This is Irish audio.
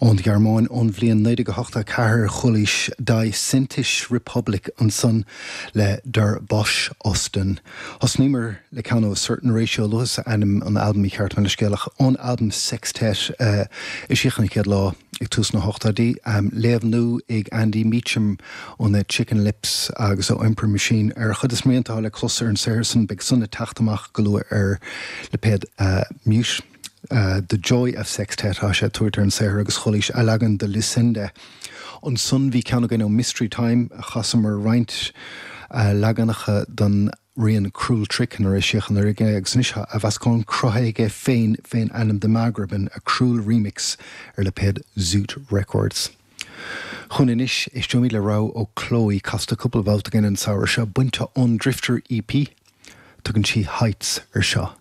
Ón Ghearmáin ón bhliain 1984 chualaís Die Sintische Republik ansan le Der Bosch Osten. Thosnaíomar le ceann ó A Certain Ratio luaigheas ainm an albaim mícheart mo leithscéal ach ón albam Sextet a eisíodh an chéad lá ag tús na hochtóidí. Léamh nua ag Andy Meacham ó na Chicken Lips agus ó Emperor Machine ar a chuid is rianta atá le clos ar an saothar san. Beidh san ag teacht amach go luath ar lipéad Mute. The Joy of Sextet atá sé ag tabhairt ar an saothar agus chualaís a leagan de Lucinda. Ansan bhí ceann againn ó Mystery Time, chasamar roinnt leaganacha den rian Cruel Trick nuair a eisíodh anuraidh é agus anois tá athmheascán cruthaithe aige féin fén ainm The Maghrebin, A Cruel Remix ar lipéad Zoot Records. Chugainn anois, éisteoimid le rogha ó Chloe, casta cúpla babhta againn an samhradh seo, bainte ón Drifter EP. Tugann sí Heights ar seo.